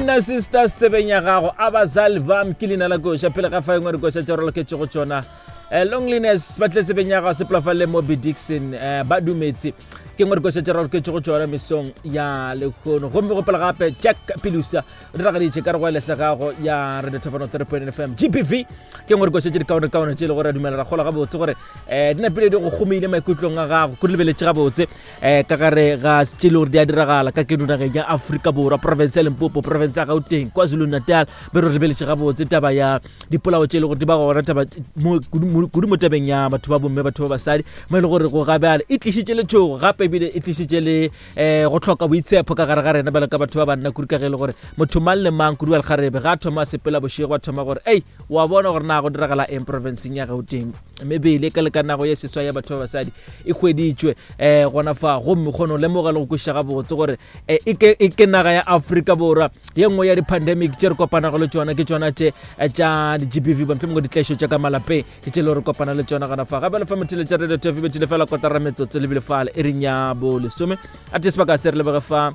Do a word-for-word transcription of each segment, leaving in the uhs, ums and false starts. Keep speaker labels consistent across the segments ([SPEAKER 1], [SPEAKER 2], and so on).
[SPEAKER 1] Amina Sisters tsebeng ya gago Abazali Bam ke leina la koša pele ga fa engwe dikoša tša re loketšego tšona um loneliness ba tle tsebeng ya gago sepela le Mobi Dixon um ba dumetse ke ngwe dikoša tša re loketšego tšona mesong ya lehono gomme gopela gape Jack Pilusa o diragaditše ka re go elese gago ya Radio Thapano three point F M G B V ke ngwe dikoša tše dikaonekaone tše e le gore re dumela ra kgola gabotse gore um di napile di go gomile maikutlong a gago ko di lebeletše gabotse um ka gare ga tše le gore di a diragala ka keno nageng ya Afrika Borwa, province ya Limpopo, province ya Gauteng, KwaZulu Natal. Be re lebeletše gabotse taba ya dipolao tše e le gore di ba gona taba mo- kudu mo- kudu mo tabeng ya batho ba bomme, batho ba basadi, mo e le gore go gabjale e tlišitše letšhogo gape ebile e tlišitše le um go tlhoka boitshepo ka gare ga rena bjalo ka batho ba banna, kudu ka ge e le gore motho mang le mang, kudu wa lekgarebe, ga a thoma a sepela bošego a thoma gore ei wa bona gore na go diragala eng provinceng ya Gauteng. Mebele ka lekanago ye seswa ya batho ba basadi e hweditšwe um gona fa gomme kgone go lemoga le go kwešiša gabotse gore eh, e ke e ke naga ya Afrika Borwa ye nngwe ya di-pandemic tše re kopanago le tšona ke tšona tše eh, tša di-G B V, mohlomongwe ditlaišo tša ka malapeng ke tše le gore kopana le tšona gona fa. Gape le fa mothele tša Radio T V bethile fela kotara metsotso lebile fale e reng ya bo lesome a te sebaka se re lebege fa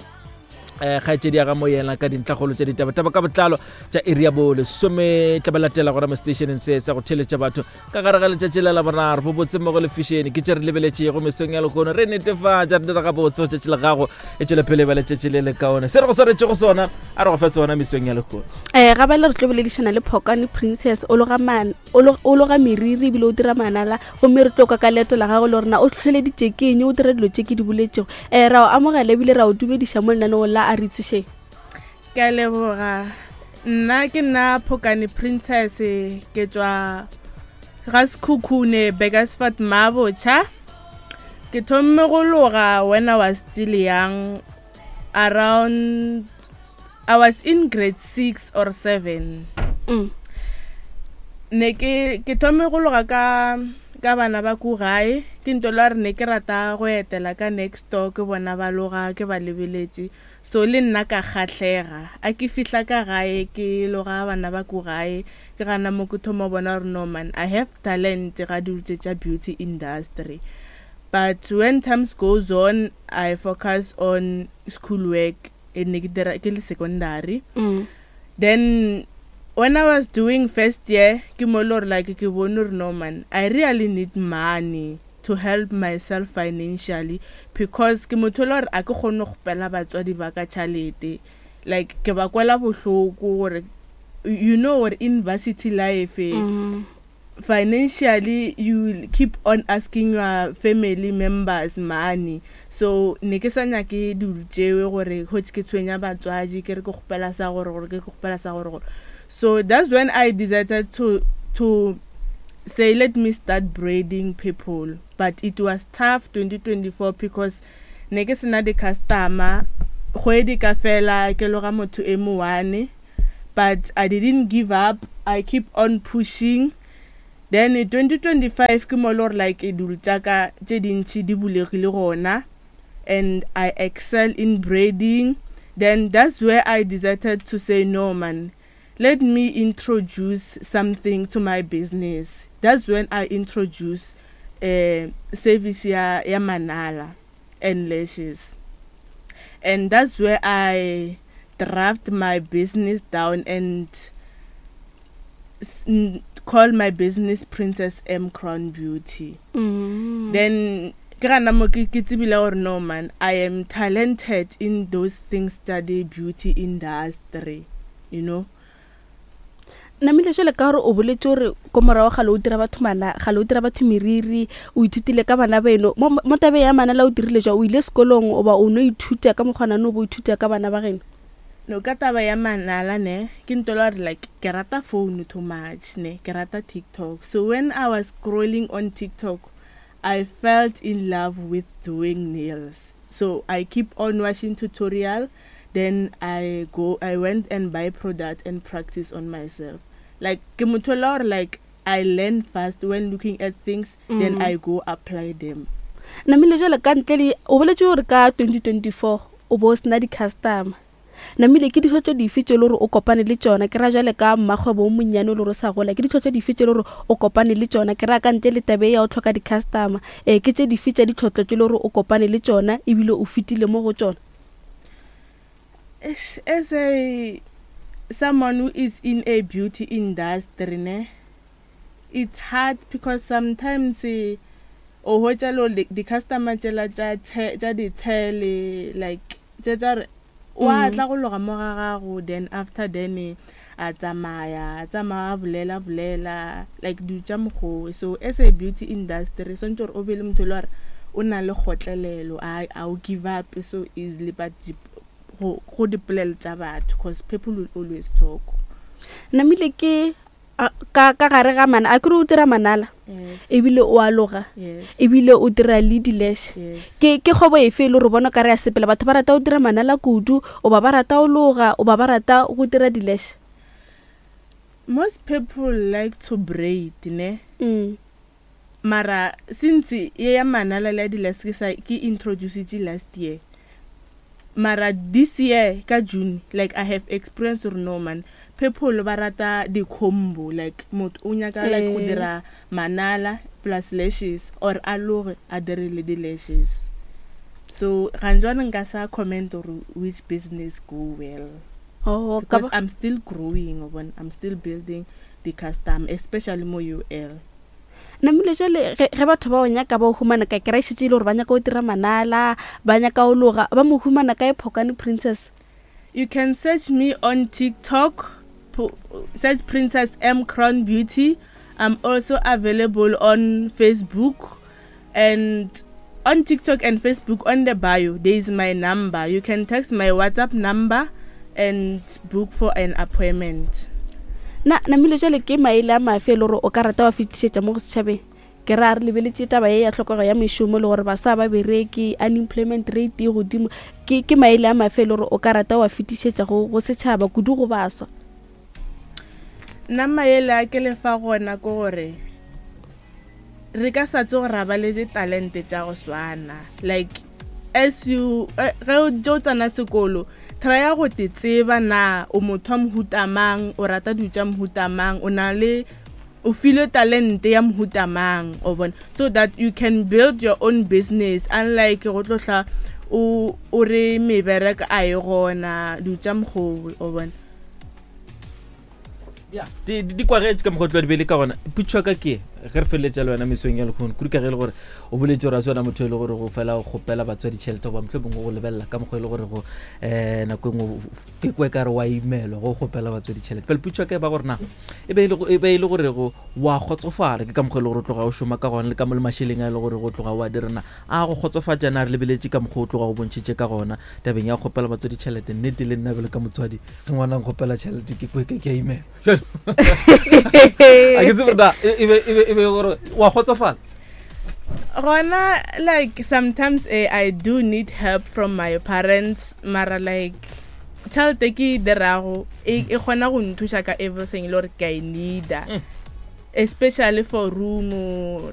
[SPEAKER 1] um kgaetšedi ya ga moyena ka dintlhagolo tša ditabataba ka botlalo tša iri ya bo lesome tla ba latela gona mo stationeng se sa go theletša batho ka gare ga letšatši la Laboraro. Bobotse mmogo le fišene ke tše re lebeletšego mesong ya lehono. Re netefatša re dira gabotse go tšatši la gago e tšwele pele ba letšatši le lekaone. Se re go swaretšego sona a re go fe sona mesong ya lehono.
[SPEAKER 2] um ga bale re tlo boledišana le Phokane Princess, o loga man- o lo- o loga meriri ebile o dira manala, gomme re tlo kwa ka leeto la gago le gorena o tlholeditše ke eng o dira dilo tše ke di boletšego. um ra o amogela ebile ra o dumediša mo lenaneong la A Re Itsošeng.
[SPEAKER 3] Ke a leboga. Nna ke nna Phokane Princess, ke tšwa ga Sekhukhune, Burgersfort, Mabotšha. Ke thomme go loga when I was still young, around I was in grade six or seven.
[SPEAKER 2] mm.
[SPEAKER 3] Ne ke ke thome go loga ka ka bana ba ko gae. Ke nto la re ne ke rata go etela ka next door, ke bona ba loga, ke ba lebeletše, so le nna ka kgahlega. A ke fihla ka gae ke loga bana ba ko gae, ke gana mo ke thoma bona gore no man, I have talent ga dilo tše tša beauty industry. But when times goes on, I focus on school work, e ne ke dira ke le secondary.
[SPEAKER 2] Mm.
[SPEAKER 3] Then when I was doing first year, ke mo le gore like ke bone gore no man, I really need money to help myself financially, because ke motho le gore a ke kgone go kgopela batswadi ba ka tšhalete, like ke ba kwela bohloko gore you know gore in varsity life eh,
[SPEAKER 2] Mm.
[SPEAKER 3] financially you will keep on asking your family members money. So ne ke sa nyake dilo tšewe gore hotse ke tshwenya batswadi, ke re ke kgopela sa gore gore ke kgopela sa gore gore. So that's when I decided to to say, let me start braiding people. But it was tough twenty twenty-four because ne ke sena di-customer, kgwedi ka fela ke loga motho e mo one. But I didn't give up, I keep on pushing. Then in twenty twenty-five ke mo le gore like dilo tša ka tše dintšhi di bulegile gona and I excel in braiding. Then that's where I decided to say, no man, let me introduce something to my business. That's when I introduce uh, service ya, ya manala and lashes, and that's where I draft my business down and s- n- call my business Princess M Crown Beauty.
[SPEAKER 2] Mm.
[SPEAKER 3] Then ke gana mo ke ke tsebile gore no man, I am talented in those things tsa the beauty industry you know
[SPEAKER 2] Namile jale ka gore o boletse gore ko morago gale o dira batho mana gale o dira batho meriri, o ithutile ka bana beno mo mo tabeng ya manala, o dirile jwa o ile sekolong oba o no ithuta ka mokgwanane o bo ithuta ka bana ba geno?
[SPEAKER 3] No, ka taba ya manala ne ke nto la gore like ke rata phone too much, ne ke rata TikTok. So when I was scrolling on TikTok, I felt in love with doing nails, so I keep on watching tutorial. Then i go I went and buy product and practice on myself. Like ke motho la gore like I learn fast when looking at things mm. Then
[SPEAKER 2] Mm.
[SPEAKER 3] I go apply them.
[SPEAKER 2] Namile jale ka ntle le o boletse gore ka twenty twenty-four o bo o sena di-customer, namile ke ditlhotlo dife tse e le gore o kopane le tsona? Ke ra jale ka mmakgwebo o monnyane o le gore o sa gola, ke ditlhotlo dife tse e le gore o kopane le tsona? Ke ra ka ntle le tabe ya o tlhoka di-customer, um ke tse dife tša ditlhotlo tse e le gore o kopane le tsona ebile o fetile mo go tsona?
[SPEAKER 3] Eish, as a someone who is in a beauty industry ne, it's hard because sometimes eh, o hwetša le gore di-customer tšela tša the- tša ditshele like tše tša re wa
[SPEAKER 2] Mm.
[SPEAKER 3] tla go loga mo ga gago, then after then eh, a tsamaya a tsamaya a bolela bolela like dilo tša mokgowe. So as a beauty industry swantse gore o be le motho e le gore o na le kgotlelelo, a a o give up so easily, but di- go go dipolelo tša batho, cause people will always talk.
[SPEAKER 2] Namile ke a- ka ka gare ga mana a kere o dira manala,
[SPEAKER 3] Yes.
[SPEAKER 2] ebile o a loga,
[SPEAKER 3] Yes.
[SPEAKER 2] ebile o dira le di-lash.
[SPEAKER 3] Yes.
[SPEAKER 2] Ke ke kgwebo efe e le gore bona o ka re ya sepela? Batho ba rata go dira manala kudu, o ba ba rata go loga, o ba ba rata go dira di-lash?
[SPEAKER 3] Most people like to braid ne,
[SPEAKER 2] Mm.
[SPEAKER 3] mara since ye ya manala le ya di-lash ke sa ke introducitše last year, mara this year ka June, like I have experience gore no man, people ba rata di-combo, like motho o nyaka like go
[SPEAKER 2] Eh.
[SPEAKER 3] dira manala plus lashes, or a loge a dire le di-lashes. So ganjwane nka sa comment gore which business go well,
[SPEAKER 2] Oh, ka
[SPEAKER 3] because
[SPEAKER 2] ba-
[SPEAKER 3] I'm still growing, o bona, I'm still building the custom, especially mo U L.
[SPEAKER 2] Namile jale ge ge batho ba o nyaka ba o humana kae? Ke ra e šetše e le gore ba nyaka go dira manala, ba nyaka go loga, ba mo humana kae Phokane Princess?
[SPEAKER 3] You can search me on TikTok, po- search Princess M Crown Beauty. I'm also available on Facebook, and on TikTok and Facebook on the bio there is my number. You can text my WhatsApp number and book for an appointment.
[SPEAKER 2] Na namile jale ke maele a mafe e le gore o ka rata wa fetišetša mo go setšhabeng? Ke ra re lebeletše taba ye ya tlhokego ya mešomo le gore baswa ba bereke, unemployment rate e godimo. ke ke maele a mafe e le gore o ka rata wa fetišetša go go setšhaba, kudu go baswa?
[SPEAKER 3] Nna maele a ke lefa gona ke gore re ka sa tsoge ra ba le ditalente tša go swana. Like as you eh, ge o tše o tsena sekolo, trya go te tseba na o motho wa mohuta mang, o rata dilo tša mohuta mang, o na le o filwe talente ya mohuta mang, o bona, so that you can build your own business, unlike go tlo hla o o re mebereko a e gona, dilo tša mokgowe, o bona.
[SPEAKER 1] Ya, di di- di kwagetše ka mokgwa o tlo di bele ka gona. Putšo ya ka ke e, ge re feleletša le wena mesong ya lekgono, kudu ka ge e le gore o boletse gore a se wena motho e le gore go fela go kgopela batswadi tšhelete, goba motlho mongwe go lebelela ka mokgwa e le gore go um nako e nngwe ke kwe ka re wa imelwa go kgopela batswadi tšhelete. Pele putšo ya ka e ba gore na e be e le go- e be e le gore go wa kgotsofala ke ka mokgwa e le gore o tloga o šoma ka gona, le ka mo le mašeleng a e le gore go tloga o a dirana a go kgotsofatša? Na re lebeletše ka mokgwa o tloga o bontšhitše ka gona tabeng ya go kgopela batswadi tšhelete, nnete le nna bjalo ka motswadi, ge ngwana nkgopela tšhelete ke kwe ke ke a imelwa. Jwale, a ke tsebe gore na e e be e be e be gore wa kgotsofala.
[SPEAKER 3] Gona like sometimes eh, I do need help from my parents, mara like tšhelete ke e dirago e e kgona go nthuša ka everything le gore ke a e needa,
[SPEAKER 1] Mm.
[SPEAKER 3] especially for room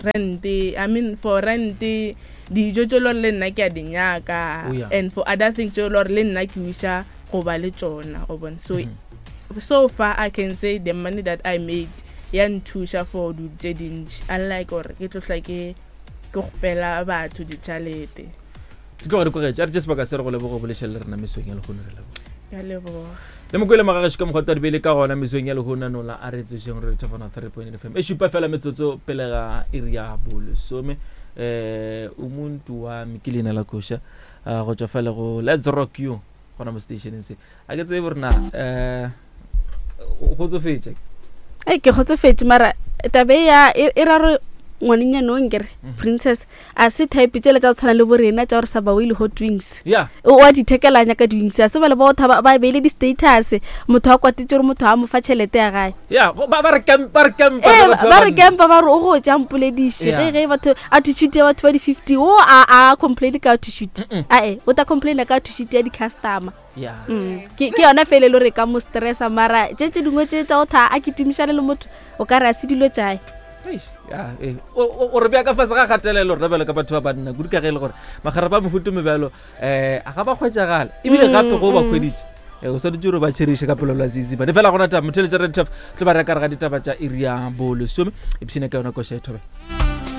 [SPEAKER 3] rent, I mean for rent, dijo tše le gore le nna ke a di nyaka,
[SPEAKER 1] Oh, yeah.
[SPEAKER 3] and for other things tše le gore le nna ke wiša go ba le tšona, o bona. So
[SPEAKER 1] Mhm.
[SPEAKER 3] so far I can say the money that I made ya nthuša for dilo tše dintši, unlike gore ke tlohla ke ke kgopela batho ditšhalete.
[SPEAKER 1] Di tloga di kwagetše. A re tše sebaka se re go lebogo bolešele le rena mesong ya lehono. Re leboga.
[SPEAKER 3] Ka leboga.
[SPEAKER 1] Le mokwele magagešo ka mokgwa twa dibele ka gona mesong ya lehono nola a re tsošeng re thofana three point F M e šupa fela metsotso pele ga iri ya bolesome. um umuntu wa me ke leina la koša, ah, go tšwa fale go Let's Rock You gona mo stationeng se. A ke tsebe gore na um o kgotsofetše?
[SPEAKER 2] Ei, ke kgotsofetše, mara tabe ya e e ra gore ngwanenyane o nkere
[SPEAKER 1] Mhm.
[SPEAKER 2] Princess a se type tsela tša go tshwana le borena tša gore sa bawe le hot wings,
[SPEAKER 1] ya
[SPEAKER 2] o a dithekelanya ka di-wings, a se ba le ba go thaba ba beile di-status, motho a kwatetse gore motho a mo fa tšhelete ya gae.
[SPEAKER 1] Ya, go- ba ba re kempa, ba re kempa
[SPEAKER 2] ee
[SPEAKER 1] le batho
[SPEAKER 2] ba re
[SPEAKER 1] banna.
[SPEAKER 2] kempa, ba re o go ja mpolediše.
[SPEAKER 1] Yeah.
[SPEAKER 2] Ge ge batho attitude ya batho ba di-fifty o a a complain ka attitude,
[SPEAKER 1] Mm-mm.
[SPEAKER 2] ae o ta complaina ka attitude ya di-customer.
[SPEAKER 1] Ya.
[SPEAKER 2] Mm. ke ke yona fela e le gore e ka mo stressa, mara tše tše dingwe tše tša go tha a ketumišane le motho o ka re a se dilo tšae.
[SPEAKER 1] Eish, ya, eh. O o- o re bea ka fase ga kgatelelo rena bjalo ka batho ba banna, kudu ka ge e le gore magare ba mohuto mebjalo um a ga ba kgwetšagale, ebile
[SPEAKER 2] Mm,
[SPEAKER 1] gape go ba
[SPEAKER 2] mm.
[SPEAKER 1] kgweditše eh, o swanetše gore ba tšheriše ka pelo la seesimane fela gona taba motheletša red taf tlo ba reka re ga ditaba tša iri ya bolesome epšene ka yona koša e thobe.